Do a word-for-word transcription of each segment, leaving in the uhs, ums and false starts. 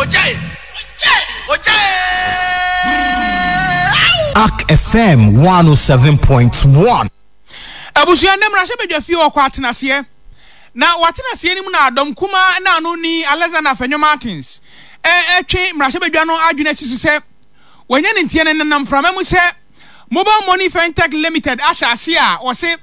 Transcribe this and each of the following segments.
Ogyae! Ogyae! Ark F M one oh seven point one. Abusua, nnɛ mmarahyɛbadwa fie ɔkɔ atenaseɛ, na watenaseɛ no mu na dɔm kumaa na ano ni Alexander Afenyo Markins ɛtwe mmarahyɛbadwa no adwene asi so sɛ wɔnyɛ ne nteɛ no nenam mframa mu sɛ Mobile Money Fintech Limited ahyɛ ase a wɔse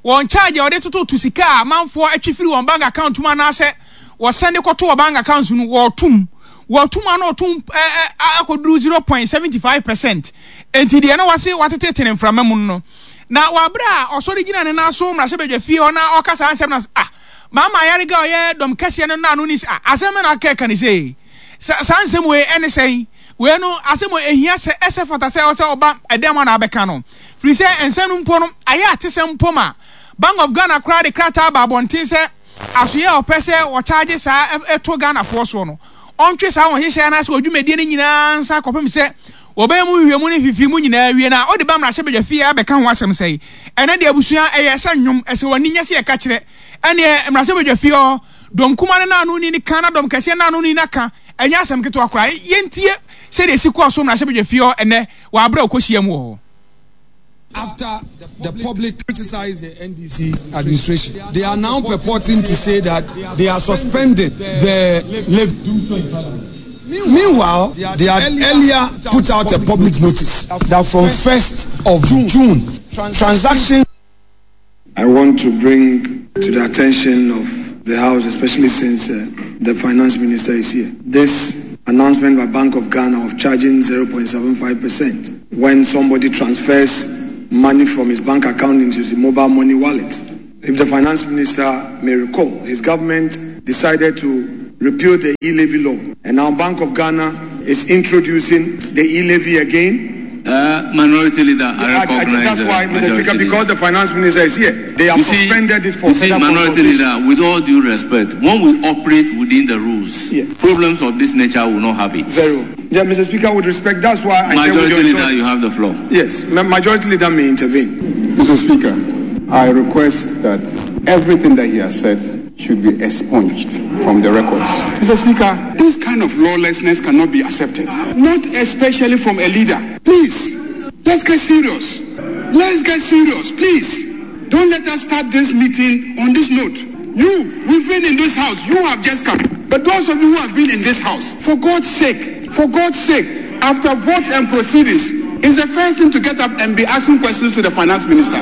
wɔn charge a wɔde tototo sika a amanfoɔ atwi firi wɔn bank account mu anaasɛ wɔsɛn de kɔto wɔ bank account no, wɔɔtum wɔtum ano ɔtum ɛɛ akɔduru zero point seventy five percent. Nti deɛ no wɔse wɔatete ne mframa mu no, na wɔabrɛ a ɔsɔre gyina ne nan so mmarahyɛbadwa fie hɔ na ɔka saa nsɛm na ah, Maama Ayariga a ɔyɛ dɔm kɛseɛ no naano ni ah, asɛm na aka ɛka ne sɛ saa nsɛm wei ɛne sɛn wei no, asɛm wei ehia sɛ ɛsɛ fata sɛ ɔsɛ ɔba ɛdɛm a na abɛka no, firi sɛ nsɛm no mpo no ayɛ atesɛm mpo ma Bank of Ghana koraa de krataa ba abɔnten sɛ asoyɛ a ɔpɛ sɛ wɔkyaagye saa ɛto Ghanafoɔ soɔ no, ɔntwe saa wɔn hyehyɛ anaasɛ wɔdwumadie no nyinaa nsa kɔpem sɛ wɔbɛyɛ mu nhwehwɛmu ne fifi mu nyinaa wie na ɔde ba mmarahyɛbadwa fie abɛka ho asɛm. Sɛe ɛnɛ deɛ, abusua, ɛyɛ sɛ nnwom ɛsɛ wɔn ani nyɛ sɛ yɛka kyerɛ ɛneɛ mmarahyɛbadwa fie hɔ dɔm kuma no naano ni ne ka na dɔm kɛseɛ naano ni naka ɛnyɛ asɛm ketewa koraa. Yɛntie sɛdeɛ esi kɔɔ so mmarahyɛbadwa fie hɔ ɛnɛ wɔ aberɛ a ɔkɔhyia mu wɔ hɔ. After the public criticized the N D C administration, they are now purporting to say that they are suspending the levy. Meanwhile, they had earlier put out a public notice that from first of June, transactions I want to bring to the attention of the House, especially since uh, the finance minister is here, this announcement by Bank of Ghana of charging zero point seven five percent when somebody transfers money from his bank account into his mobile money wallet. If the finance minister may recall, his government decided to repeal the e-levy law, and now Bank of Ghana is introducing the e-levy again. Uh, minority Leader, I I- I- recognize. That's uh, why, Mister Majority Speaker, Leader. Because the finance minister is here, they have You see, suspended it for you see, further Minority consultation. Leader, with all due respect, when we operate within the rules, Yeah. problems of this nature will not have it. Zero. Yeah, Mister Speaker, with respect, that's why I say with Majority your Leader, you indulgence. Have the floor. Yes, Ma- Majority Leader may intervene. Mister Speaker, I request that everything that he has said should be expunged from the records. Mister Speaker, this kind of lawlessness cannot be accepted, not especially from a leader. Please, let's get serious. Let's get serious, please. Don't let us start this meeting on this note. You, we've been in this house, you have just come. But those of you who have been in this house, for God's sake, for God's sake, after votes and proceedings, is the first thing to get up and be asking questions to the finance minister.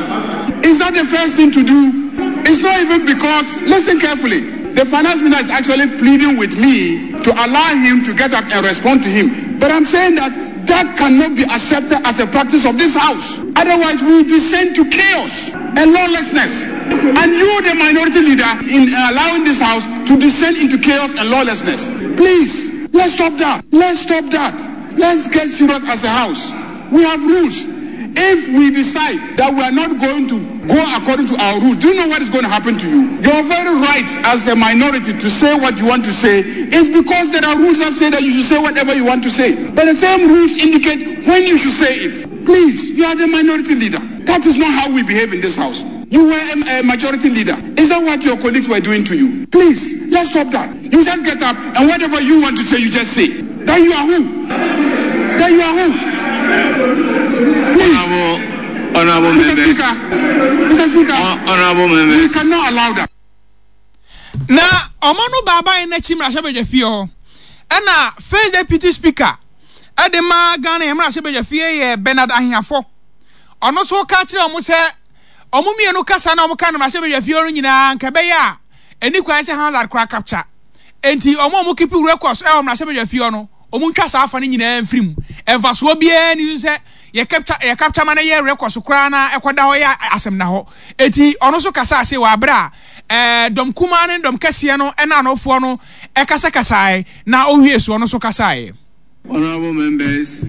Is that the first thing to do? It's not even because, listen carefully, the finance minister is actually pleading with me to allow him to get up and respond to him. But I'm saying that that cannot be accepted as a practice of this house. Otherwise, we descend to chaos and lawlessness. And you, the minority leader, in allowing this house to descend into chaos and lawlessness. Please, let's stop that. Let's stop that. Let's get serious as a house. We have rules. If we decide that we are not going to go according to our rules, do you know what is going to happen to you? Your very rights as a minority to say what you want to say is because there are rules that say that you should say whatever you want to say. But the same rules indicate when you should say it. Please, you are the minority leader. That is not how we behave in this house. You were a, a majority leader. Is that what your colleagues were doing to you? Please, let's stop that. You just get up and whatever you want to say, you just say. Then you are who? Then you are who? Please. Honorable, honorable Mister members. Speaker, Mister Speaker, Honorable we members. Cannot allow that. Na ɔmo no baaban n'akyi mmarahyɛbadwa fie hɔ ɛna First Deputy Speaker ɛde ma Ghana yɛn mmarahyɛbadwa fie yɛ Bernard Ahiafo, ɔno nso ka kyerɛ ɔmo sɛ ɔmo mmienu kasa na ɔmo ka no mmarahyɛbadwa fie hɔ no nyinaa nka ɛbɛyɛ a ɛni kwan sɛ Hansard kora capture, enti ɔmo a ɔmo keep records ɛwɔ mmarahyɛbadwa fie hɔ no, ɔmo ntwa saa afa no nyinaa mfiri mu. Mfasoɔ biara ni so sɛ yɛ capture yɛ capture ma no yɛ records koraa na ɛkɔda hɔ yɛ asɛm na hɔ. Eti ɔno nso kasa ase wɔ abere a ɛɛ dɔm kumaa ne dɔm kɛseɛ no ɛna anofoɔ no ɛkasakasae na owie so ɔno nso kasaeɛ. Honorable members,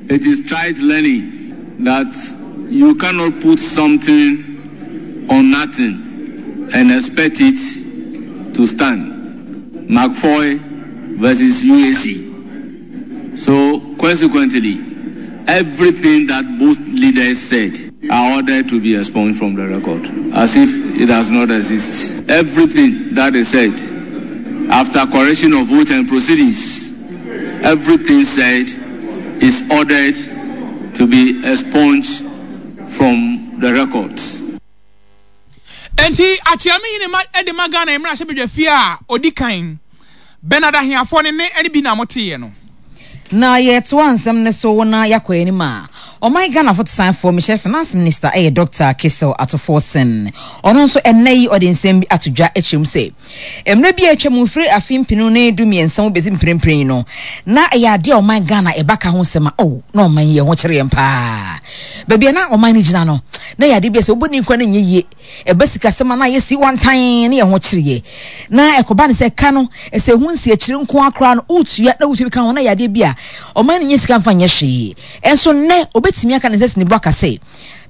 it is trite learning that you cannot put something on nothing and expect it to stand. McFoy versus U A C. So, consequently, everything that both leaders said are ordered to be expunged from the record, as if it does not exist. Everything that they said after correction of vote and proceedings Everything said is ordered to be expunged from the records. Enti Akyeame yi ne ma de ma Ghana mmarahyɛbadwafie a ɔdi kan, Bernard Ahiafoɔ ne ne ɛne bi na moteeɛ no. Na yɛtoa nsɛm no so na yɛakɔ anim a, ɔman Ghana fotosanfoɔ mehyɛ Finance Minister ɛyɛ Doctor Cassiel Ato Forson. Ɔno nso ɛnnɛ yi ɔde nsɛm bi ato dwa akyerɛ mu sɛ mmerɛ bi a atwa mu firi afe mpenu ne du mmiɛnsa mu bɛsi mprempren yi no, na ɛyɛ adeɛ a ɔman Ghana ɛba ka ho nsɛm a, oh, na ɔman yi ɛho kyerɛ yɛn paa. Baabi a na ɔman no gyina no, na ɛyɛ adeɛ bi a sɛ wobɔ ne nkura no nyɛ yie. Ɛba sikasɛm a na ayɛ si wantan ne yɛn ho kyereɛ. Na ɛkɔba ne sɛ ka no, sɛ ɛho nsi akyire nko ara koraa no, wotua na wotua bi ka ho na ɛyɛ adeɛ bi a ɔman no nyɛ sika mfa nyɛ hwee. Ɛnso nnɛ, obɛtumi aka ne nsa si ne bo aka sɛ,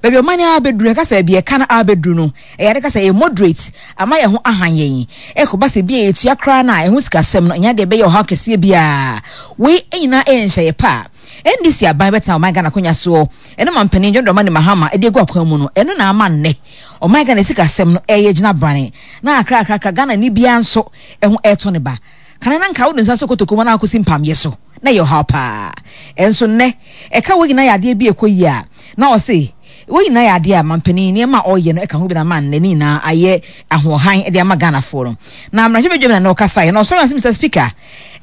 baabi a ɔman no abɛduru, ɛka sɛ baabi a ɛka no abɛduru no, ɛyɛ ade ka sɛ ɛyɛ moderate, ama yɛn ho ahan yɛn. Ɛkɔba sɛ bi a yɛtua koraa no a, ɛho sikasɛm no, ɛnyɛ adeɛ ɛbɛyɛ ɔhaw kɛseɛ biara. Wei nyinaa ɛyɛ nhyɛeɛ pa a N D C aban bɛtena ɔman Ghana akonnwa soɔ ɛne mampanin John Dramani Mahama de agu akwan mu no, ɛno na ama nnɛ ɔman Ghana sikasɛm no ɛreyɛ gyina brane na akrakrakra Ghana ni biara nso ɛho ɛretɔ ne ba. Kane na nka wode nsa sɔ kotoku mu na akɔsi mpamyɛ so na ɛyɛ ɔhaw paa. Ɛnso nnɛ ɛka wei nyinaa yɛ adeɛ bi a ɛkɔ yie a na ɔse wei nyinaa yɛ adeɛ a mampanin nneɛma a ɔreyɛ no ɛka ho bi na ama nnɛ ne nyinaa ayɛ ahoɔhan de ama Ghanafoɔ no. Na mmarahyɛbadwam na na ɔkasaeɛ na ɔsɔre ase Mister Speaker,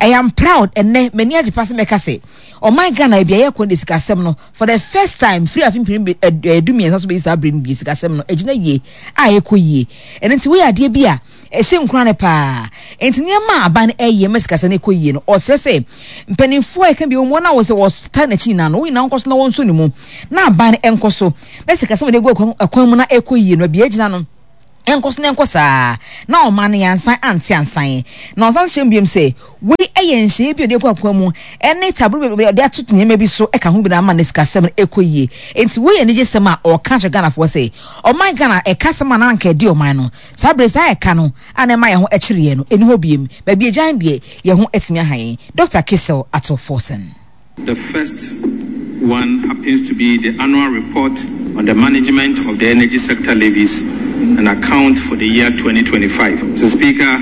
I am proud ɛnnɛ m'ani agye paa sɛ mɛka sɛ ɔman Ghana baabi a yɛrekɔ no deɛ sikasɛm no for the first time firi afe mpem du mmiɛnsa so bɛsi saa berɛ no deɛ sikasɛm no agyina yie a ɛrekɔ yie. Ɛno nti wei yɛ adeɛ bi a ɛhyɛ nkuran paa. Nti nneɛma a aban no ɛreyɛ ma sikasɛm no ɛkɔ yie no, ɔsrɛ sɛ mpanimfoɔ a ɛka bi wɔn a wɔsɛ wɔtaa n'akyi nyinaa no, wɔn nyinaa nkɔ so na wɔnso ne mu na aban no ɛnkɔ so na sikasɛm a wɔde agu akwan mu na ɛkɔ yie no, baabi a ɛgyina no ɛnkɔ so na ɛnkɔ saa na ɔman no yɛansan ante ansan. Na ɔsan hyɛ mu biom sɛ wei ɛyɛ nhyɛeɛ bi a ɔde agu akwan mu ɛne taburo bi a ɔde ato nneɛma bi so ɛka ho bi na ama ne sikasɛm no ɛkɔ yie. Nti wei yɛ anigyesɛm a ɔka kyerɛ Ghanafoɔ sɛ ɔman Ghana ɛka sɛm a na anka ɛdi ɔman no saa bere saa ɛka no a na ɛma yɛn ho ɛkyere yɛn no ɛni hɔ biem. Baabi agyan deɛ yɛn ho atumi aha yɛn. Doctor Cassiel Ato Forson. The first one happens to be the annual report on the management of the energy sector levies and account for the year twenty twenty-five. Mister Speaker,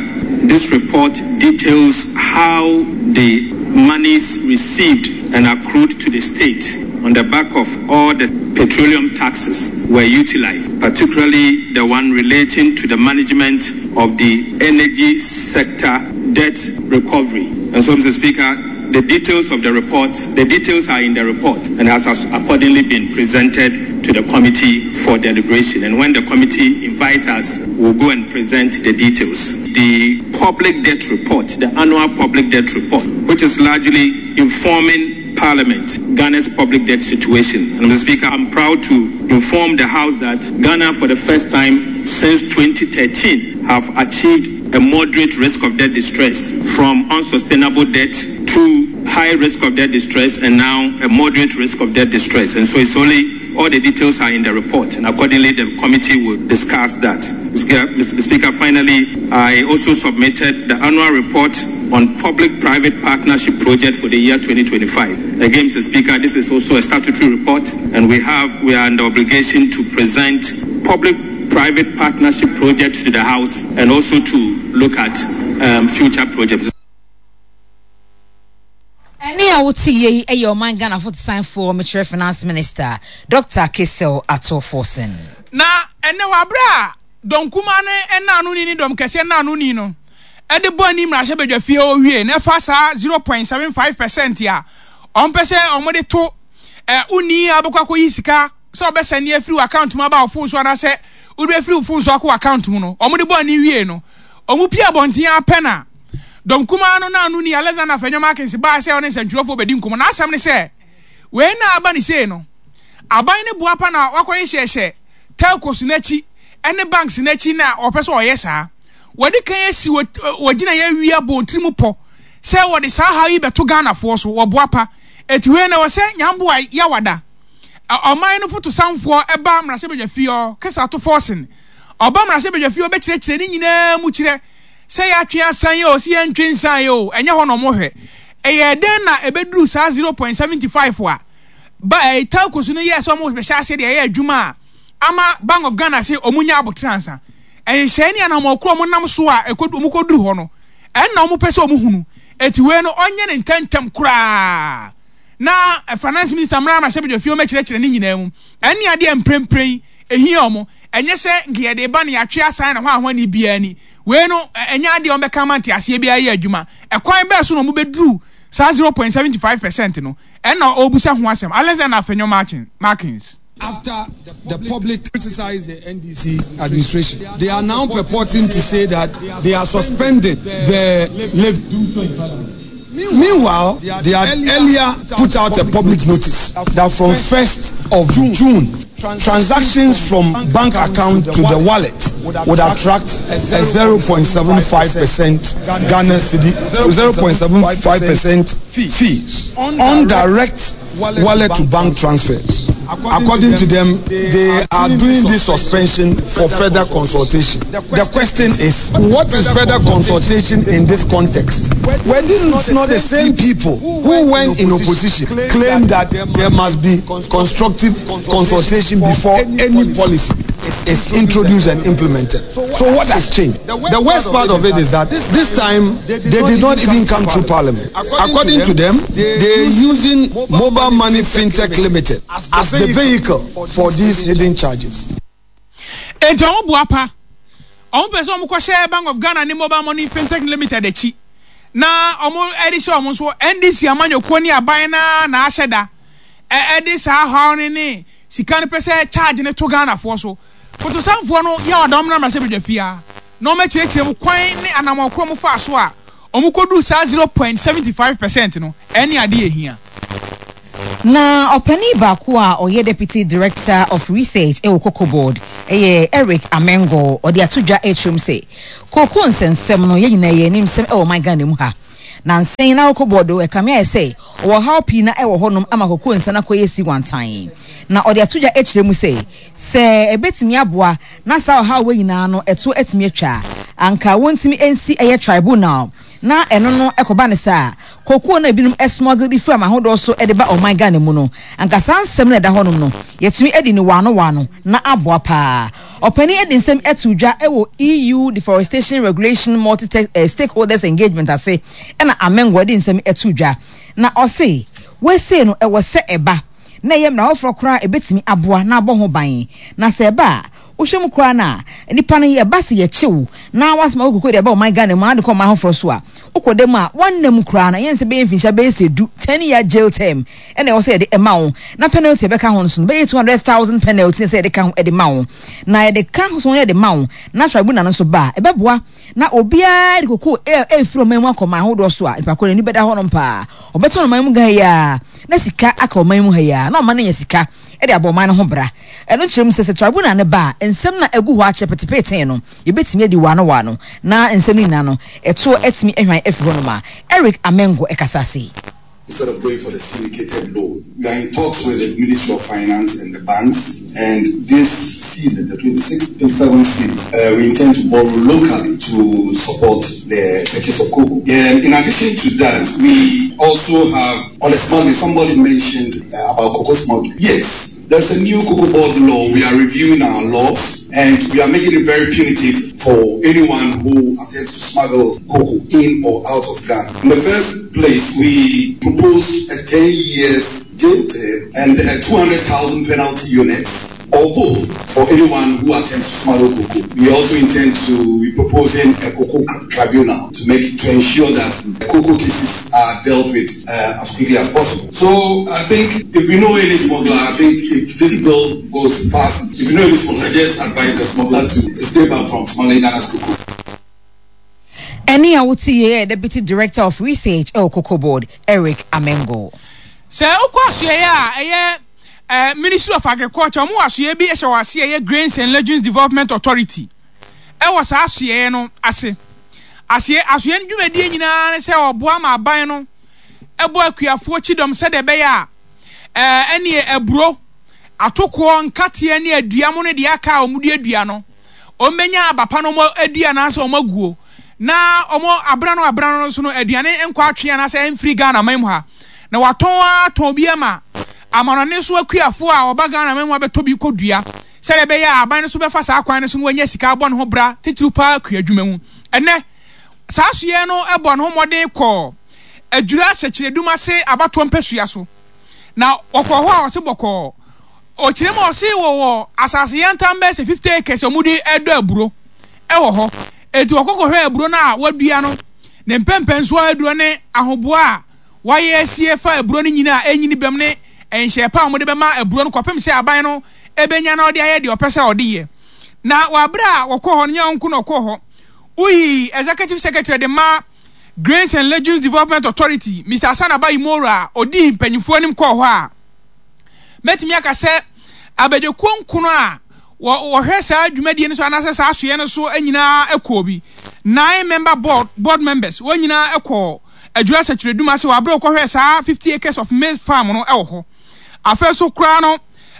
this report details how the monies received and accrued to the state on the back of all the petroleum taxes were utilized, particularly the one relating to the management of the energy sector debt recovery. And so, Mister Speaker, the details of the report, the details are in the report and has accordingly been presented to the committee for deliberation. And when the committee invites us, we'll go and present the details. The public debt report, the annual public debt report, which is largely informing Parliament, Ghana's public debt situation. And Mister Speaker, I'm proud to inform the House that Ghana, for the first time since twenty thirteen, have achieved a moderate risk of debt distress, from unsustainable debt to high risk of debt distress, and now a moderate risk of debt distress. And so it's only, all the details are in the report, and accordingly the committee will discuss that. Speaker, Mister Speaker, finally, I also submitted the annual report on public-private partnership project for the year twenty twenty-five. Again, Mister Speaker, this is also a statutory report, and we have, we are under obligation to present public-private partnership projects to the House and also to look at, um, future projects. Ɛne a wote yie yi yɛ ɔman Ghana fotosanfoɔ mekyerɛ Finance Minister Doctor Cassiel Ato Forson. Na ɛnɛ wɔ abere a dɔm kumaa no ɛna ano ni ne dɔm kɛseɛ ɛna ano ni no ɛde bɔ ani mmarahyɛbadwa fie hɔ wie na ɛfa saa zero point seven five percent a ɔmpɛ sɛ ɔmode to ɛ wonni abɛkɔ akɔyi sika sɛ ɔbɛsɛne afiri wɔ account mu aba wo phone so anaasɛ wode afiri wo phone so akɔ account mu no ɔmode bɔ ani wie no ɔmo pie abɔnten apɛ na dɔm kumaa no na ano ni Alexander Afenyo Markins baa sɛ ɔne nsɛntwerɛfoɔ bɛdi nkɔmmɔ na asɛm ne sɛ wei na aba ne sei no aban ne boa pa na wakɔyɛ hyɛhyɛ telcos n'akyi ɛne banks n'akyi na ɔpɛ sɛ ɔyɛ saa wɔde kan asi wɔgyina yɛ awia bɔ tirim pɔ sɛ wɔde saa ha yi bɛto Ghanafoɔ so wɔboa pa eti wei na wɔsɛ nyamboa yawada ɔman no foto sanfoɔ ɛba mmarahyɛbadwa fie hɔ kesa to fɔsin ɔba mmarahyɛbadwa fie hɔ bɛkyerɛkyerɛ ne nyinaa mu kyerɛ sɛ yɛatwe asan yɛ o sɛ yɛntwe nsan yɛ o ɛnyɛ hɔ na ɔmo hwɛ ɛyɛ dɛn na ɛbɛduru saa zero point seventy five a ba ɛyɛ telcos no yɛ sɛ ɔmo bɛhyɛ ase deɛ ɛyɛ adwuma a ama Bank of Ghana sɛ ɔmo nya abotire ansa ɛnhyɛn ne anamɔ koro ɔmo nam so a ɛkɔ ɔmo kɔduru hɔ no Ɛnna wɔn pɛ sɛ wɔn hunu. Eti wei no, ɔnyɛ ne ntɛntɛm koraa na Finance Minister mmra mmarahyɛbadwa fie ɔmɛkyerɛkyerɛ ne nyinaa mu. Ɛne adeɛ mprempren ehia wɔn. Ɛnyɛ sɛ nka yɛde ba no yɛatwe asan na hɔ ahoani biara ni. Wei no, ɛnyɛ adeɛ a wɔbɛka ama nteaseɛ biara yɛ adwuma. Ɛkwan bɛɛ so na wɔn bɛduru saa zero point seventy five percent no? Ɛnna ɔrebusa ho asɛm. Alexander Afenyo Markins. After the public criticized the N D C administration, they are now purporting to say that they are suspending the levy. Meanwhile, they had earlier put out a public notice that from first of June, transactions from bank account to the wallet would attract a zero point seven five percent Ghana cedi, zero point seven five percent fees on direct wallet to bank transfers. According to them, they are doing this suspension for further consultation. The question is, what is further consultation in this context? Were these not the same people who, when in opposition, claimed that there must be constructive consultation before any policy is introduced and implemented? So what has changed? The worst part of it is that this time they did not even come through Parliament. According to them, they are using Mobile Money FinTech Limited as the vehicle for these hidden charges. Enti wɔn bu apa, wɔn pɛ sɛ wɔn kɔhyɛ Bank of Ghana ne Mobile Money FinTech Limited akyi na wɔn de hyɛ wɔn nso N D C amanyɔkuo ne aban na na ahyɛ da ɛde saa haw ne ne sika no pɛ sɛ charge ne to Ghanafoɔ so. Fotosanfoɔ no yɛ ɔdɔm na mmarahyɛ badwa fia na wɔn akyerɛkyerɛ mu kwan ne anammɔn mu fa so a wɔn kɔdu saa zero point seventy five percent no. Ɛne adeɛ ehia. Na ɔpanin baako a ɔyɛ Deputy Director of Research ɛwɔ Cocoa Board, ɛyɛ Eric Amengo, ɔde ato dwa ɛkyerɛm sɛ kooko nsɛnsɛm no, yɛn nyinaa yɛ anim sɛm ɛwɔ ɔman Ghana mu ha na nsɛn na Cocoa Board ɛkame ayɛ sɛ ɔwɔ haw pii na ɛwɔ hɔnom ama koko nsa no akɔyɛ si wantan. Na ɔde ato dwa akyerɛ mu sɛ sɛ ɛbɛtumi aboa na saa ɔhaw wɔ nyinaa no ɛto atumi atwa, anka wɔntumi nsi ɛyɛ tribunal na ɛno no ɛkɔba ne saa kookoo no ebinom smuggle de firi amahodoɔ so de ba ɔman Ghana mu no, anka saa nsɛm no ɛda hɔnom no yɛtumi adi ne waano waano na aboa paa. Ɔpanin de nsɛm ɛto dwa ɛwɔ E U Deforestation Regulation multi eh, stakeholders engagement ase. Ɛna Amengo de nsɛm ɛto dwa na ɔse wese no ɛwɔ sɛ ɛba na ɛyɛ mmara foforɔ koraa ɛbɛtumi aboa na abɔ ho ban. Na sɛ ɛba a, wohwɛ mu koraa no a, nipa no yɛba sɛ yɛkyew na wasoma wo koko de ɛba ɔman Ghana mu ade kɔ ɔman foforɔ so a, wokɔ dɛm a wɔnnam koraa no, ɛyɛ nsɛ bɛyɛ mfinhyia bɛyɛ sɛ du, ten year jail term ɛna ɛwɔ sɛ yɛde ɛma wo, na penalty ɛbɛka ho no so no bɛyɛ two hundred thousand penalty sɛ yɛde ka ho ɛde ma wo. Na yɛde ka ho so yɛde ma wo na tribunal no nso ba a, ɛbɛboa na obiara de koko ɛɛfiri ɔman mu akɔ ɔman ahodoɔ so a, nipa koro n'ani bɛda hɔnom paa. Ɔbɛtɔn ɔman mu ha yi a na sika aka ɔman mu ha yi a, na ɔman no nya sika ɛde abɔ ɔman no ho bra. Ɛno kyerɛ mu sɛ sɛ tribunal no ba a, nsɛm na ɛgu hɔ akyɛ petepeten no, yɛbɛtumi adi waano waano na nsɛm no nyinaa no ɛtoɔ atumi ahwan afiri hɔnom a Eric Amengo ɛkasa ase yi. Instead of going for the syndicated loan, we are in talks with the Ministry of Finance and the banks. And this season, the twenty-six twenty-seven season, uh, we intend to borrow locally to support the purchase of cocoa. And in addition to that, we also have on the smuggling. Somebody mentioned uh, about cocoa smuggling. Yes, there's a new Cocoa Board law. We are reviewing our laws and we are making it very punitive for anyone who attempts to smuggle cocoa in or out of Ghana. In the first place, we propose a ten years jail term and a two hundred thousand penalty units or both for anyone who attempts to smuggle cocoa. We also intend to be proposing a cocoa tribunal to make to ensure that cocoa cases are dealt with uh, as quickly as possible. So I think if we know any smuggler, I think if this bill goes past, if you know any smuggler, just advise the smuggler to, to stay back from smuggling Ghana's cocoa. Ɛne a wote yɛ Deputy Director of Research ɛwɔ Cocoa Board, Eric Amengo. Sɛ wokɔ asoɛeɛ a ɛyɛ uh, Ministry of Agriculture, ɔmo wɔ asoɛeɛ bi ɛhyɛ wɔ ase, ɛyɛ Grains and Legumes Development Authority. Ɛwɔ saa asoɛeɛ no ase. Aseɛ asoɛeɛ no dwumadie nyinaa ne sɛ ɔboa ma aban no ɛbɔ akuafoɔ kyidɔm sɛdeɛ ɛbɛyɛ a ɛɛ ɛne aburo, atokoɔ, nkateɛ ne adua mo no deɛ aka a wɔn duadua no, wɔn bɛnya aba pa no wɔn adua anaasɛ wɔn aguo na wɔn abena no abena no nso no aduane nkɔ atwe anaasɛ ɛmfiri Ghana man mu ha na watɔn atɔn bi ama amanɔne so akuafoɔ a ɔba Ghana man mu abɛtɔ bi kɔ dua, sɛdeɛ ɛbɛyɛ a aban no so bɛfa saa kwan no so no wɔanya sika abɔ ne ho bra, titiriw paa kua adwuma mu. Ɛnɛ Saa asoɛeɛ no bɔɔ ne ho mmɔden kɔɔ Adwira Sɛkyerɛdum ase abatoɔ mpasua so. Na wɔkɔɔ hɔ a ɔse bɔkɔɔ. Ɔkyerɛ mu a ɔse wɔwɔ asase yantam bɛyɛ sɛ fifty acres a wɔde dɔ aburo wɔ hɔ. Enti wɔkɔ kɔhwɛɛ aburo no a wɔadua no, ne mpɛmpɛnsoɔ aduro ne ahoboa a wɔayɛ asie fa aburo no nyini a ɛnyini bam ne nhyɛɛ pa a wɔde bɛma aburo no kɔpem sɛ aban no bɛnya na ɔde ayɛ deɛ ɔpɛ sɛ ɔde yɛ. Na wɔ aberɛ a wɔkɔɔ hɔ no, nyɛ wɔn nko na wɔkɔɔ hɔ. Woyii Executive Secretary de ma Grains and Legumes Development Authority, Mister Hassan Abayi Moro a ɔdii mpanyinfoɔ anim kɔɔ hɔ a, mɛtumi aka sɛ abadwakuo nkono a wɔhwɛ saa dwumadie no so anaasɛ saa asoeɛ no so nyinaa kɔɔ bi. Nine member board, board members, wɔn nyinaa kɔɔ Adwira Sɛkyerɛdum ase wɔ aberɛ wɔkɔhwɛɛ saa fifty acres of maize farm no wɔ hɔ. Afei so koraa no,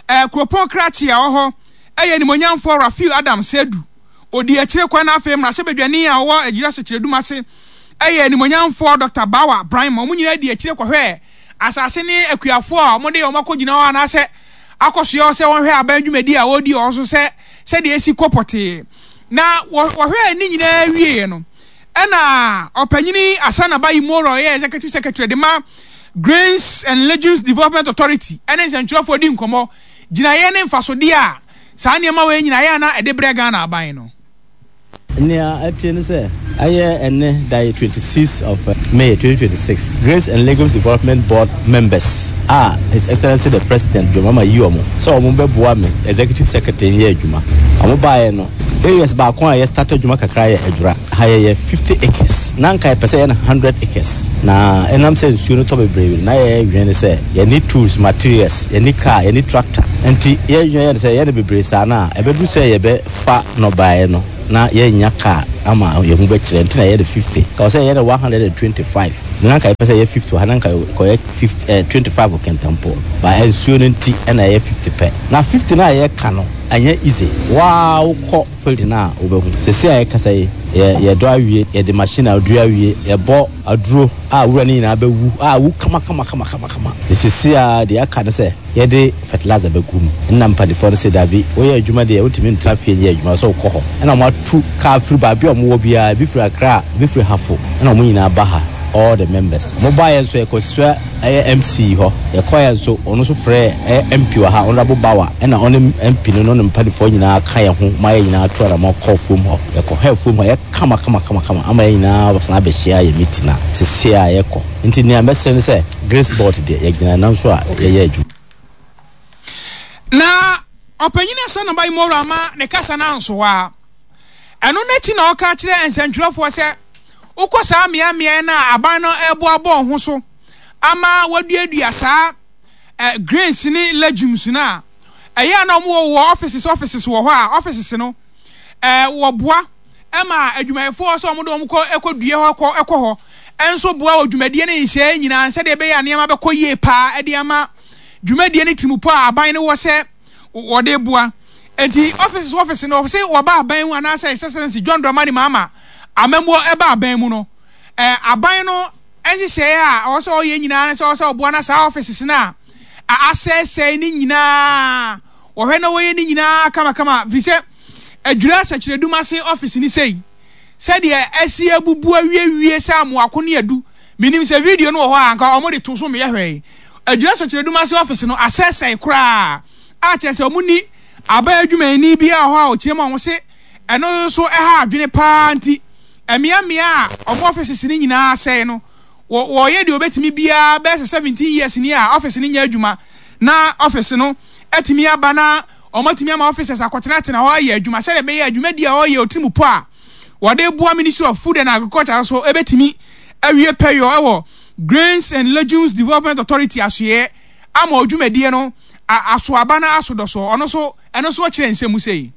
eh, kuropɔn krakye a ɔwɔ hɔ yɛ animuonyamfoɔ Rafiu Adams Seidu. Ɔdii akyire kwan na afei mmarahyɛbadwani a ɔwɔ Adwira Sɛkyerɛdum ase yɛ animuonyamfoɔ Dɔkta Bawa Braimah. Wɔn nyinaa dii akyire kɔhwɛɛ asase ne akuafoɔ a wɔde wɔn akɔgyina hɔ anaasɛ akɔsoɛ hɔ sɛ wɔnhwɛ aban dwumadi a wɔredi wɔ hɔ so sɛ sɛdeɛ ɛsi kɔ pɔtee. Na wɔhwɛɛ ne nyinaa wieeɛ no, ɛna ɔpanyini Asana Bayi Moro a ɔyɛ Executive Secretary de ma Grains and Legumes Development Authority ne nsɛntwerɛfoɔ di nkɔmmɔ gyinaeɛ ne mfasodeɛ a saa nneɛma wei nyinaa yɛ a na ɛde brɛ Ghana aban no. Nea ɛteɛ ne sɛ, ɛyɛ ɛnnɛ da yi twenty six of May twenty twenty six, Grains and Legumes Development Board members a His Excellency the President John Mahama yi wɔn sɛ wɔn bɛboa me Executive Secretary nyɛ adwuma. Wɔn baeɛ no, areas baako a yɛ start adwuma kakra yɛ Adwura. Ha yɛyɛ fifty acres, na anka yɛpɛ sɛ yɛyɛ no hundred acres, na ɛnam sɛ nsuo no tɔ bebree no, na yɛdwene ne sɛ yɛnni tools, materials, yɛnni car, yɛnni tractor, nti yɛdwene yɛɛ no sɛ yɛyɛ no bebree saa no a, ɛbɛduru sɛ yɛbɛfa nnɔbaeɛ no na yɛnnya car ama yɛn ho bɛkyerɛ, nti na yɛyɛ no fifty. Nka ɛwɔ sɛ yɛyɛ no one hundred and twenty five, na anka yɛpɛ sɛ yɛyɛ fifty wɔ ha, na anka yɛkɔyɛ fifty eh, twenty five wɔ Kintampo, but nsuo no nti ɛna ɛyɛ fifty pɛ. Na fifty no a yɛka no, ɛnyɛ easy, wo ara wokɔ field no a wobɛhu. Seesei a yɛkasa yi, yɛ yɛdɔ awie, yɛde machine adua awie, yɛbɔ aduro a wura no nyinaa bɛwu, a awu kamakamakamakama. Nti seesei ara deɛ aka ne sɛ yɛde fertilizer bɛgu mu. Ɛnna mpanimfoɔ no se, Dabi, woyɛ adwuma deɛ wontumi ntena fie nyɛ adwuma, ɛwɔ sɛ wokɔ hɔ. Ɛnna wɔatu kaa firi baabi a wɔwɔ biara, ebi firi Accra, ebi firi Hafo, ɛnna wɔn nyinaa ba ha, all the members. Wɔbaeɛ nso yɛkɔsua ɛyɛ M C hɔ. Yɛkɔeɛ nso, ɔno nso frɛɛ ɛyɛ M P wɔ ha, Honourable Bawa, ɛna ɔne M P no ne ne mpanifoɔ nyinaa ka yɛn ho ma yɛn nyinaa tu anamɔn kɔɔ fuom hɔ. Yɛkɔhwɛɛ fuom hɔ, ɛyɛ kama kama kama kama ama yɛn nyinaa san abɛhyia yɛn meeting a seesei a yɛkɔ. Nti nea mɛsrɛ ne sɛ, Grace Board deɛ, yɛgyina nan so a yɛyɛ adwuma. Na Ɔpanyin Asanaba Imoro amma ne kasa no anso hɔ ara. Ɛno no akyi na ɔka kyerɛɛ nsɛntwerɛfoɔ sɛ, Wokɔ saa mmeaemmeae no a aban no reboaboa wɔn ho so ama wɔaduadua saa eh, grains ne legumes no a, ɛyɛ a na wɔwɔ wɔ offices offices wɔ hɔ a offices no eh, wɔboa ma adwumayɛfoɔ sɛ wɔde wɔn kɔ kɔdua hɔ kɔ kɔ hɔ nso boa wɔ dwumadie ne nhyehyɛeɛ nyinaa sɛdeɛ ɛbɛyɛ a nneɛma bɛkɔ yie paa de ama dwumadie ne tirimupɔ a aban no wɔ sɛ wɔde boa. Enti offices office no sɛ wɔba aban mu anaasɛ His Excellency John Dramani Mahama amammuo ɛba aban mu no, eh, aban no nhyehyɛeɛ a ɔwɔ sɛ ɔyɛ nyinaa ne sɛ ɔwɔ sɛ ɔboa na saa offices no a asɛesɛe no nyinaa wɔhwɛ na wɔyɛ ne nyinaa kamakama, firi sɛ Adwira Sɛkyerɛdum ase office no sei sɛdeɛ asi abubu awiewie sɛ amoako ne adu. Menim sɛ video no wɔ hɔ a anka wɔde to so meyɛ hwɛe. Adwira Sɛkyerɛdum ase office no asɛesɛe koraa a kyerɛ sɛ wɔnni aban adwumayɛni biara wɔ hɔ a ɔkyerɛ mu a wɔse ɛno nso ɛha adwene paa nti mmeammea a wɔn offices no nyinaa asɛe no wɔ wɔyɛ deɛ wɔbɛtumi biara bɛyɛ sɛ seventeen years ni a office no nyɛ adwuma na office no atumi aba na wɔatumi ama officers akɔtenatena hɔ ayɛ adwuma sɛdeɛ ɛbɛyɛ a dwumadi a wɔyɛ otirimupɔ a wɔde boa Ministry of Food and Agriculture nso ɛbɛtumi awie pɛyɔ wɔ Grains and Legumes Development Authority asoɛeɛ ama dwumadie no aso aba na aso dɔsoɔ. Ɔno nso ɛno nso ɔkyerɛ nsɛm mu sei.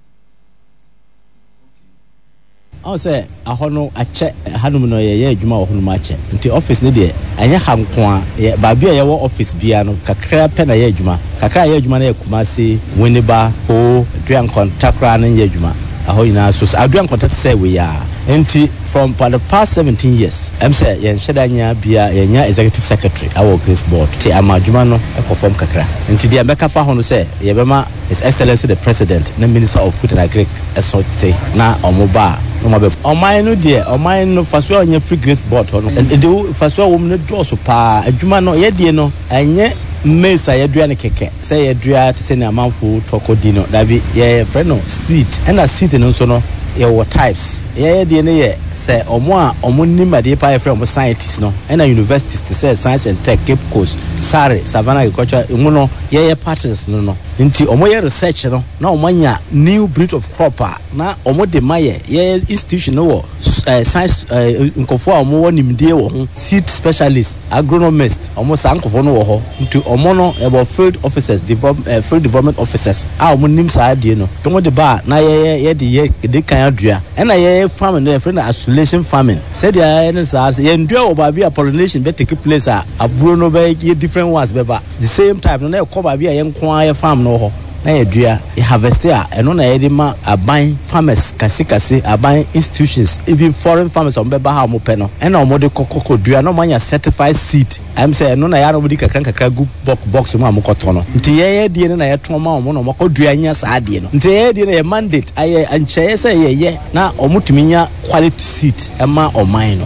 Ɔhu sɛ ahɔ no akyɛ, hanom no yɛyɛ adwuma wɔ hɔnom akyɛ, nti office no deɛ ɛnyɛ ha nko ara, yɛ baabi a yɛwɔ office biara no kakra pɛ na ɛyɛ adwuma, kakra a ɛyɛ adwuma no yɛ Kumasi, Winneba, Ho, Dua Nkwanta koraa no nyɛ adwuma, ɛhɔ nyinaa so, Dua Nkwanta te sɛ wei ara, nti from for the past seventeen years ɛm sɛ yɛnhyɛ da nya biara, yɛnnya executive secretary wɔ Grace Board, nti ama adwuma no kɔ fam kakra, nti deɛ mɛka fa ho no sɛ yɛbɛma His Excellency the President ne Minister of Food and Agric so te na wɔn ba Na ɔmo abɛ ɔman no deɛ, ɔman no faso a ɔnyɛ firi Grace Board hɔ no, ɛde faso a wɔm no dɔɔso paa. Adwuma no yɛdeɛ no, ɛnyɛ maize a yɛdua no kɛkɛ sɛ yɛdua te sɛ ne amanfo tɔkɔ di no. Dabi, yɛfrɛ no seed, ɛna seed no nso no yɛwɔ types. Yɛyɛ deɛ no yɛ sɛ ɔmo a ɔmo nim adeɛ paa, yɛfrɛ ɔmo scientists no, ɛna universities te sɛ Science and Tech, Cape Coast, Sare, Savannah Agriculture emu no, yɛyɛ partners no no Nti ɔmo yɛ research no na ɔmo anya new breed of crop a na ɔmo de ma yɛ yɛ institution no wɔ ɛɛ science ɛɛ nkɔfoɔ a ɔmo wɔ nimdeɛ wɔ ho, seed specialist, agronomist. Ɔmo saa nkɔfoɔ no wɔ hɔ, nti ɔmo no ɛwɔ field officers, develop ɛɛ field development officers a ɔmo nim saa adeɛ no. Ɔmo de ba a na yɛyɛ yɛde yɛ de kan adua, ɛna yɛyɛ farming no, yɛfrɛ no isolation farming. Sɛdeɛ yɛyɛ no saa sɛ yɛn dua wɔ baabi a pollination bɛ take place a, aburo no bɛ yɛ different ones bɛba the same type no, na ɛkɔ baabi a yɛn nko ara yɛ farm no wɔ hɔ na yɛdua, yɛ harvest a, ɛno na yɛde ma aban farmers kasekase, aban institutions, even foreign farmers a wɔbɛba ha a wɔpɛ no, ɛna wɔde kɔkɔ kɔdua na wɔanya certified seed. Ɛm sɛ ɛno na yɛa na wɔde kakra nkakra gu box box mu a wɔkɔtɔ no. Nti yɛyɛ deɛ no na yɛtɔn ma wɔn na wɔkɔdua nya saa adeɛ no. Nti yɛyɛ deɛ no yɛ mandate ayɛ nkyɛn sɛ yɛyɛ na wɔtumi nya quality seed ɛma ɔman no.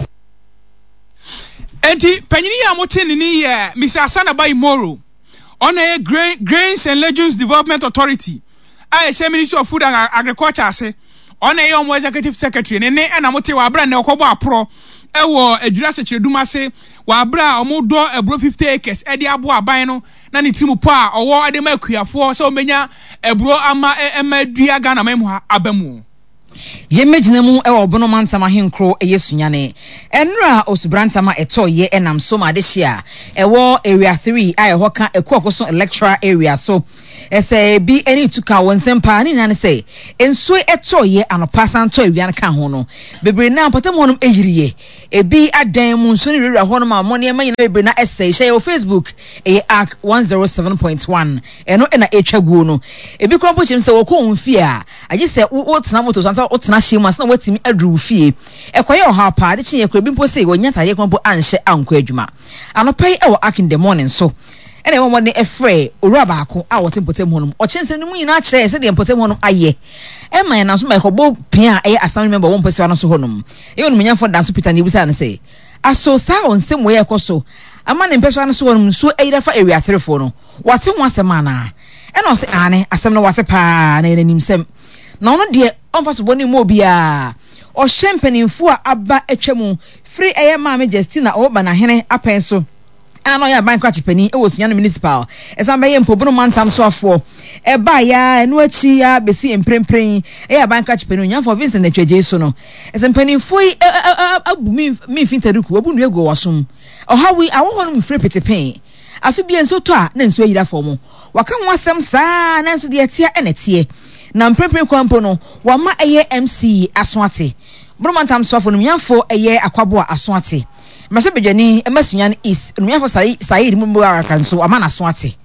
Enti panyin yi a mote ne ni yɛ Mister Asanaba Imoro. Ɔno yɛ Grain, Grains and Legumes Development Authority a ɛhyɛ Ministry of Food and Agriculture ase. Ɔno yɛ wɔn executive secretary. Ne ne ɛna mote wɔ abere a na ɔkɔbɔ aporɔ ɛwɔ Adwira Sɛkyerɛdum ase wɔ abere a wɔdɔ aburo fifty acres ɛde aboa aban no na ne tirim pɔ a ɔwɔ ɛde ma akuafoɔ sɛ wɔbɛnya aburo ama ɛma adua Ghana man mu ha aba mu. Yɛmmɛgyina mu wɔ Ɔbono mantam ahenkuro ɛyɛ Sunyani. Ɛnora osubrantam a ɛtɔ yɛ ɛnam so ma adehye a ɛwɔ Area three a ɛhɔ ka Ekuakoso electoral area so. Ɛsɛ ebi ɛne tu ka wɔn nsɛm paa ne nyinaa ne sɛ nsuo ɛtɔ yɛ anɔpa san tɔ awia no ka ho no, bebree na mpɔtam hɔnom ɛyiriye. Ebi adan mu nsuo no wurawura hɔnom a wɔn nneɛma nyinaa bebree na ɛsɛe. Hyɛ yɛ wɔ Facebook, ɛyɛ Ark one zero seven point one, ɛno ɛna ɛtwa guo no. Ebi kora mpo kyerɛ sɛ wɔkɔ wɔn fie a, agye sɛ wotena moto so ansa wotena hyɛn mu ansa na woatumi aduru wo fie. Ɛkɔyɛ ɔhaw paa de kyenyɛ kora. Ebi mpo sɛ wɔnya atadeɛ kora mpo anhyɛ ankɔ adwuma anɔpa yi. Ɛwɔ Ark in the Morning so ɛna ɛwɔ wɔde ɛfrɛ owura baako a wɔte mpɔtam hɔnom. Ɔkyerɛ nsɛm no mu nyinaa kyerɛ sɛdeɛ mpɔtam hɔnom ayɛ ɛma yɛn nanso ma ɛkɔbɔ pia a ɛyɛ assembly member wɔ mpɔtam no so hɔnom, ɛyɛ onimonyamfo Danso Peter, na ebusa no sɛ aso saa nsɛm wɔ yɛ ɛkɔ so ama ne mpɛsua no so hɔnom nsuo ayira fa ewia aterefoɔ no, wate ho asɛm anaa? Ɛna ɔsɛ ane, asɛm no wate paa na yɛn anim sɛm na ɔno deɛ ɔmfa so bɔ ne mu obiara. Ɔhyɛ mpanimfoɔ a aba atwa mu firi ɛyɛ Maame Justina ɔwɔ Banahene apɛn so a na ɔyɛ aban krakye panin wɔ Sunyani Municipal, ɛsan bɛyɛ Mpobono mantam soafoɔ ɛbaa ya, ɛno akyi ya bɛsi mprempren ɛyɛ aban krakye panin Onyamfoɔ Vincent Atwagye so no, ɛsɛ mpanimfoɔ yi abu mimfi ntaduku abu nnua gu wɔ som ɔhaw yi awɔ hɔ no mu firi petepee. Afe bia nsuo tɔ a na nsuo ayira fam. Waka ho asɛm saa, nanso deɛ ɛteɛ ɛna ɛteɛ na mprempren kwan mpo no wama ɛyɛ M C aso ate, Boromantam soafo no nyamfo ɛyɛ Akwaboa aso ate, mmarahyɛbadwani ɛma Sunyani East onimnyafo Saeed Mubarak nso wama n'aso ate.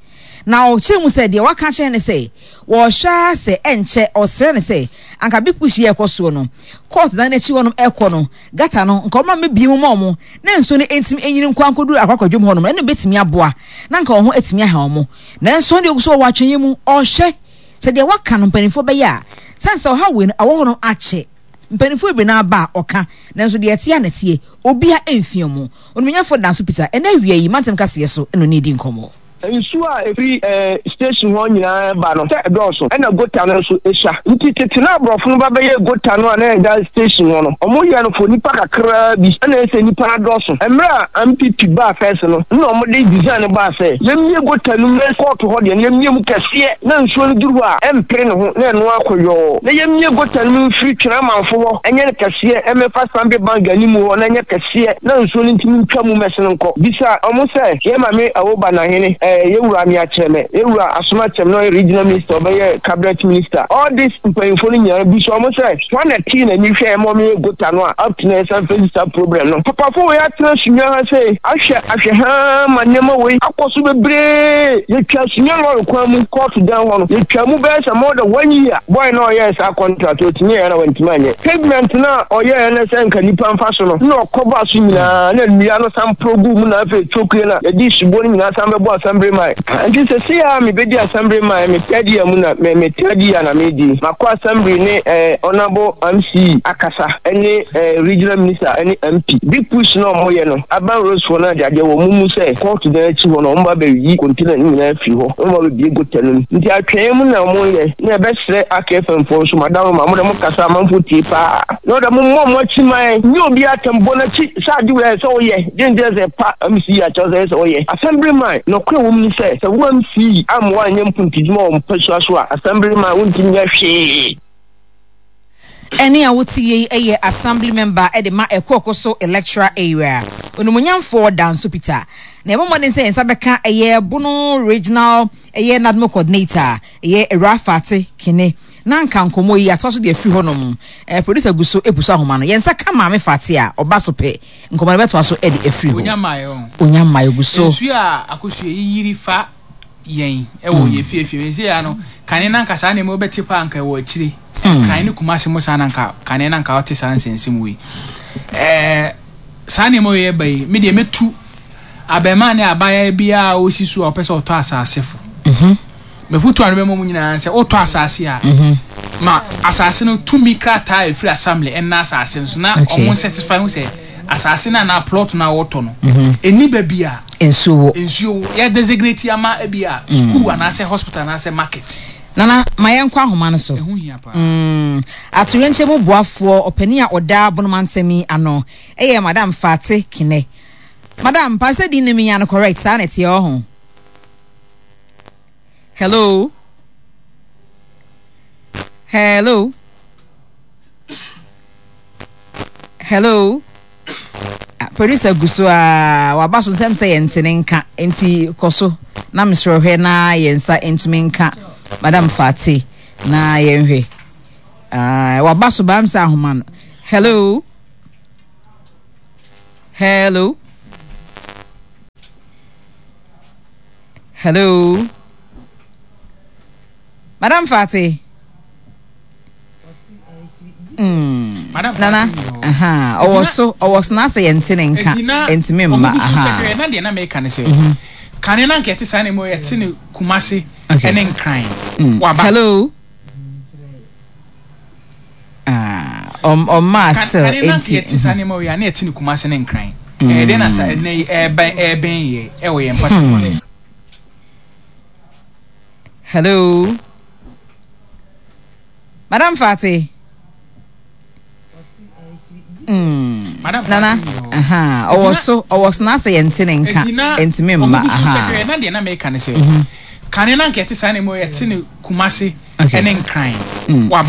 Na ɔkyerɛ mu sɛ deɛ waka kyerɛ ne sɛ wɔrehwɛ a sɛ ɛnkyɛ ɔsrɛ ne sɛ anka Big Push yɛ ɛkɔ soɔ no, court dan n'akyi hɔnom ɛkɔ no, gutter no nka ɔma mmebie mu ma ɔmo na nsuo no ntumi enyini nkɔ ankɔduru akɔakɔdwom hɔnom. Ɛno bɛtumi aboa na nka wɔn ho atumi aha wɔn. Nanso ɔno deɛ ogu so wɔ atwɛnyɛ mu, ɔrehwɛ sɛ deɛ waka no mpanimfoɔ bɛyɛ a sɛn sɛ ɔha wei no awɔ hɔ no akyɛ mpanimfoɔ bebree na aba a ɔka, nanso deɛ ɛteɛ a na ɛteɛ obia mfia mu. Onimonyafo Danso Peter ɛna awia yi mantam kaseɛ so ɛna ɔne di nkɔmmɔ. Nsuo a ɛfiri ɛɛ station hɔ nyinaa ba no sɛ ɛdɔɔso, ɛna gutter no nso esua. Nti tete na aborɔfo no ba bɛyɛ gutter no a na ɛda station hɔ no, ɔmo yɛ no for nipa kakraa bi, ɛna ɛsɛ nipa no adɔɔso. Mmerɛ a N P P baa first no, na ɔmo de design no baa sɛ yɛmmie gutter no mu na kɔɔto hɔ deɛ no yɛmmie mu kɛseɛ na nsuo no duru hɔ a ɛmpere ne ho na ɛno akɔ yɔɔ, na yɛmmie gutter no mu mfiri Twene Amanfo hɔ ɛnyɛ no kɛseɛ, ɛmɛfa Sambe Bank anim hɔ na ɛnyɛ kɛseɛ na nsuo no ntumi ntwa mu mɛsene nkɔ. Bisa ɔmo sɛ yɛ maame Awoba Nahene, ɛɛ yɛwura Ameakyerɛmɛ, yɛwura Asoma Kyɛm na ɔyɛ regional minister, ɔbɛyɛ cabinet minister, all this mpanyinfoɔ no nyinaa, bisa ɔmo sɛ wɔn na tii n'ani hwɛ ɛma ɔmo yɛ gutter no a up to na yɛsan face saa problem no. Papafo wei atena Sunya ha sɛ ahwɛ ahwɛ haa ma nneɛma wei akɔ so bebree. Yɛtwa Sunya lɔre kwan mu kɔɔto dan hɔ no, yɛtwa mu bɛyɛ sɛ more than one year. Boy na ɔyɛɛ saa contract, otumi yɛ na wantumi anyɛ pavement na ɔyɛɛ no sɛ nka nipa mfa so no, na ɔkɔba so nyinaa na nnua no san pro gu mu, na afei tokue na yɛde subo no nyinaa san bɛbɔ asan. Assembly man. Nti sɛsi a mebɛdi assembly man me third year mu na me me third year na medi. Makɔ assembly ne eh, honorable M C akasa ɛne eh, regional minister ɛne M P. Big push na ɔmo yɛ no, urban roads foɔ no ade adeɛ wɔ mu mu sɛ court dan akyi hɔ no, ɔmo ba bɛyi container no nyinaa firi hɔ, ɔmo ba bɛbie gutter no mu. Nti atwɛn mu na ɔmo yɛ na ɛbɛsrɛ aka F M foɔ nso, madam ma mo de mo kasa amanfo tie paa na ɔde mo mmɔ mo akyi man nye obi atɛm bɔ n'akyi sɛ ade wei sɛ woyɛ de nti sɛ pa M C akyɛw sɛ sɛ woyɛ assembly man. Nɔkora wɔ mu ni sɛ sɛ wo M C amma woanyɛ mpuntudwuma wɔ mpasua so a, assembly man wontumi nyɛ hwee. Ɛne a wote yei yɛ assembly member de ma Ɛkoɔko so electoral area, Onimonyamfoɔ Danso Peter. Na yɛbɔ mmɔden sɛ yɛn nsa bɛka ɛyɛ Bono Regional ɛyɛ NADMO coordinator, ɛyɛ Awura Fate Kene, na nka nkɔmmɔ yi atoa so de afiri hɔnom. eh, producer gu so epu so ahoma no, yɛn nsa ka Maame Fate a ɔba so pɛ, nkɔmmɔ no bɛtoa so de afiri hɔ. Onya mmaeɛ o. Onya mmaeɛ, gu so. Nsuo a Akosua yiyiri fa yɛn ɛwɔ yɛ fiefie nse ya no, kane na nka saa nneɛma wobɛte paa nka ɛwɔ akyire kan ne Kumase mu saa na nka kane na nka ɔte saa nsɛnsɛm wei. ɛɛ saa nneɛma wei ɛba yi, me deɛ mɛtu abɛɛmaa ne abaayewa biara a ɔsi so a ɔpɛ sɛ ɔtɔ asase fo, mɛfutu ano bɛma mu nyinaa sɛ wotɔ asase a, ma asase no tumi krataa a ɛfiri assembly ɛnna asase no so na Okay. ɔmo certify ho sɛ asase no anaa plot no a wɔtɔ no ɛni baabi a nsuo wɔ. Nsuo yɛ designate ama ebi a school anaasɛ hospital anaasɛ market. Nana, ma yɛnkɔ ahoma no so. Ɛho hia paa. Mm, atoyerɛnkyɛm mu boafoɔ ɔpanin a ɔda Bonoma ntɛm yi ano ɛyɛ Madam Fate Kene. Madam pa sɛ din no menya no correct, saa na ɛteɛ ɔho? Hello, hello, hello. Ah, producer gu so a waba so nsɛm sɛ yɛnte ne nka, nti kɔ so na mesrɛ hwɛ na yɛn nsa ntumi nka Madam Fate na yɛnhwɛ. Ah, waba so baam sɛ ahoma no. Hello, hello, hello, Madam Fate. Mm. Madam Nana. Fate ni hɔ. Aha, ɔwɔ so, ɔwɔ so na asɛ yɛnte ne nka. Eti na ntumi mma. ɔmo gu so aha kyɛkɛ na deɛ na meka ne sɛ kane na nka ɛte saa nneɛma yi, yɛte ne Kumase Okay. ɛne Nkran. Mm. Waba. Hello. Ah, ɔm ɔmaa Kan- still kane na nka enti yɛte saa nneɛma yi a na yɛte ne Kumase ne Nkran. Ɛyɛ dɛn na sa ɛnɛ yi ɛɛbɛn ɛɛbɛn yɛ ɛwɔ yɛn mpata mu? Hello, Madam Fati. Mm. Madam Nana. Fati ni hɔ. Aha, ɔwɔ so, ɔwɔ so na asɛ yɛnte ne nka. Eti na ntumi ɔmo mma. gu so Aha kyɛkɛ na deɛ na meka ne sɛ kane na nka yɛte saa nneɛma yi, yɛte ne Kumase Okay. ɛne Nkran. Mm. Waba.